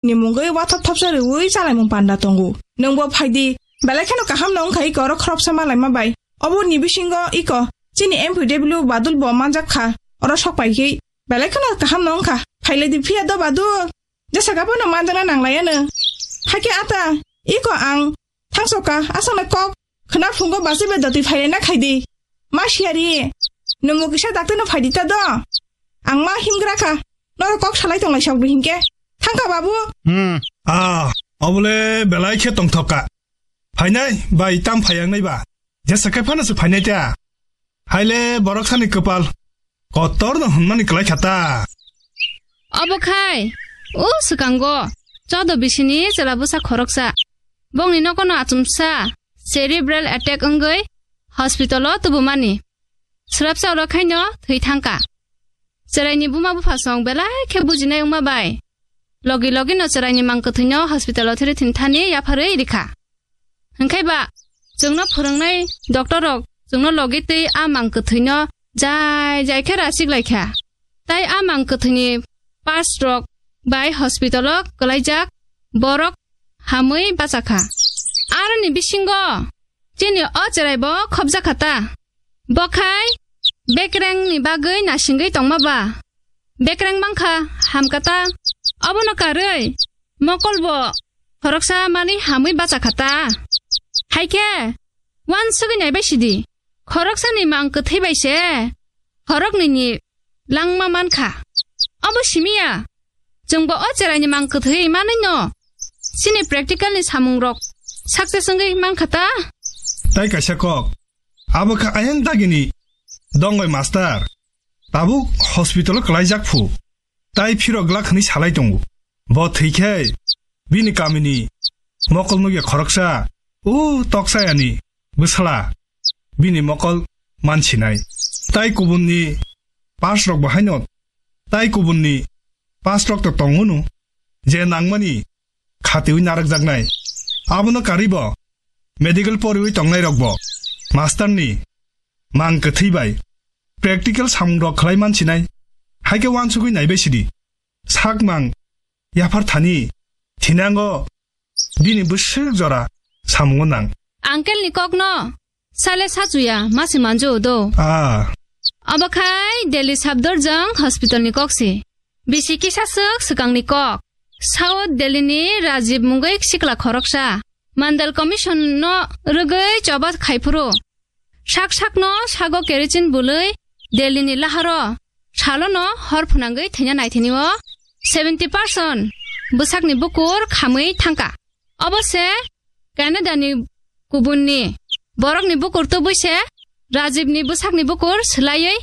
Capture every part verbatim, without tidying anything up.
ni mungwi wathop thopsa rwui chalaimung panda tongo. Nwngbo phaidi, belai kheno kaham no wngkha iko oro khoroksa malaima bai. Obo ni bisingo iko chini M P W Badul bo manjak kha, oro sok pai khe belai kheno kaham no wngkha. Phailai di phiya do Badul, jesa kha phano manjakna nanglaiya no. Hakhe ata, iko ang thangsoka aswkno kok khwna phungo bachai bai dotwi phailai na khaidi. Ma siyari, nwngbo kisa dakti no phaidi ta do. Ang ma himgra kha, noro kok salai tonglai sok di hinkhe. Thangkha babu. Hmm. Ah, obole belai khe tongthok ka. Phainai bai tam phaiyangnai ba. Jesa khe phano se phainai ta. Haile borok sani kwpal kotor no hwnmani kwlai kha ta. Obo khai, o swkango chodo bisini chwla bwsa khoroksa. Bongni nokono achomsa cerebral attack wngwi hospital-o tubumani. Swrapsa oro khaino thwi thangkha. Chwraini buma bupha song belai khe bujinai wngma bai logi logi no chwraini mang kwthwino hospital-o thiri thini thani yapharwi rikha. Hwnkhe ba chwngno phwrwngnai doctor rok chwngno logi twi a mang kwthwino jai jai khe rasik lai kha. Tai a mang kwthwini parts rok bai hospital-o kwlaijak borok hamwi bachakha. Aroni bisingo chini o chwraibo khopjakha ta. Bo khai bekrengni bagwi nasingwi tongma ba? Bekreng mankha hamkha ta. Obono karwi mokolbo khoroksa manwi hamwi bachakha ta. Haikhe uansugwi naibai sidi. Khoroksani mang kwthwi bai se khoroknwini langma mankha. Obo simiya, chwngbo o chwraini mang kwthwi manwino chini practical-ni samungrok success wngwi mankha ta? Tai kaisa kok, abo kha ayang dagini dongbai master, tabuk hospital-o kwlaijak phu, tai phirok glak hwnwi salai tongo. Bo thwi khe bini kamini mokol nukya khoroksa, o Toksayani bwsala bini mokol mansinai. Tai kubunni pass rok bo haino, tai kubunni pass rok to tongo no, je nangmani khatiwi narwkjaknai. Abono karwi bo medical poriwi tongnai rok bo master ni mang kwthwi bai practical samung rok khlai mansinai. Haikhe uansugwi naibai sidi. Sakmang yaphar thani thinango bini bwswk jora samungo nang. Uncle ni kokno sale sachuya masi manjo do. Ah. Abo khai Delhi Safdarjung hospital ni kok si. Bisi kisa swk swkang ni kok. South Delhi ni Rajiv mungwi sikla khoroksa. Mandal Commission no rwgwi choba khaiphuru. Sak sakno sago kerosene bwlwi Delhi ni laharo salono hor phwnangwi thwina naithani o seventy percent bwsakni bukur khamwi thangkha. Obo se Canada ni kubunni borokni bukur tubui se Rajib ni bwsakni bukur swlaiwi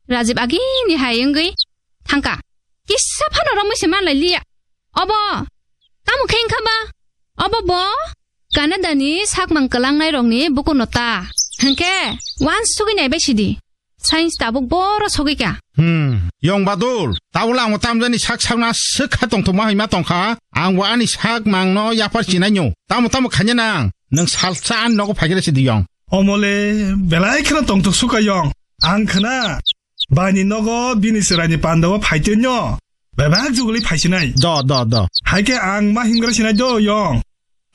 Rajib agini hai wngwi thangkha. Kisa phano romwi se manlai liya. Obo tamo khe wngkha ba? Obo bo Canada ni sakmang kwlangnai rokni bukurno ta. Hwnkhe uansugwi naibai sidi. Science tabuk boro sogwi kha. Hmm, Yong Badul, tabuk ang tamjani sak sakna swk kha tongthokma hima tongkha. Ang bo ani sakmangno yaphar chinai nyo. Tamo tamo khanya nang, nwng salsa ani nogo phaikhe sidi Yong. Omole, belai kheno tongthok suka Yong. Ang khna, baini nogo bini chwraini pandao phaitwi nyo. Bebak juguli phaisinai. Do, do, do. Haikhe ang ma hingra sinai do Yong.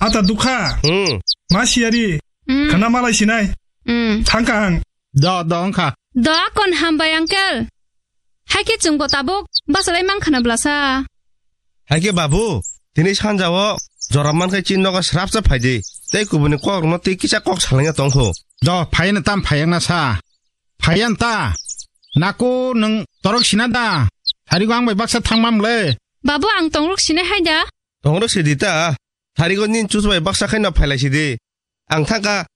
Ata dukha. Hmm. Ma siyari. Hmm. Khna malai sinai. Hmm. Thangkha ang. Do, do, wngkha. Do, akon hambai, uncle. Haikhe chwngbo tabuk basalai mankha na blasa. Haikhe babu, tini sanjao jora mankhe chini nogo srapsa phaidi. Tei kubuni kokrokno tei kisa kok salangya tongkho. Do, phaiya na tam phaiya na sa. Phaiya na ta. Nako nwng torok sina da. Tharigo ang bai baksa thangmam le. Babu, ang tongrok sinai hai da. Tongrok sidi ta. Tharigo nin chus bai baksa khaino phailai sidi. Ang thangkha.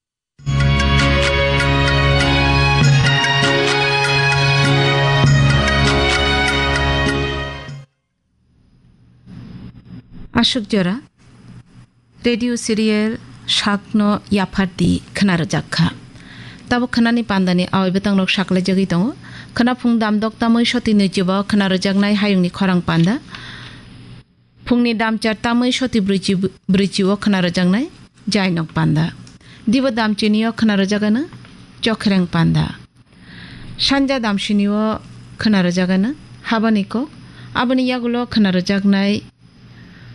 Aswk jora radio serial Sakno Yaphardi khna rwjak kha. Tabuk khnani pandani awai bwtangrok saklaijagwi tongo. Khna phung damdok tamwi soti nwichibo khna rwjaknai hayungni khorang panda. Phungni damchar tamwi soti brwichi, brwichio khna rwjaknai jainok panda. Dibo damchinio khna rwjagano chokhreng panda. Sanja damsinio khna rwjagano habani kok. Aboni yagulo khna rwjaknai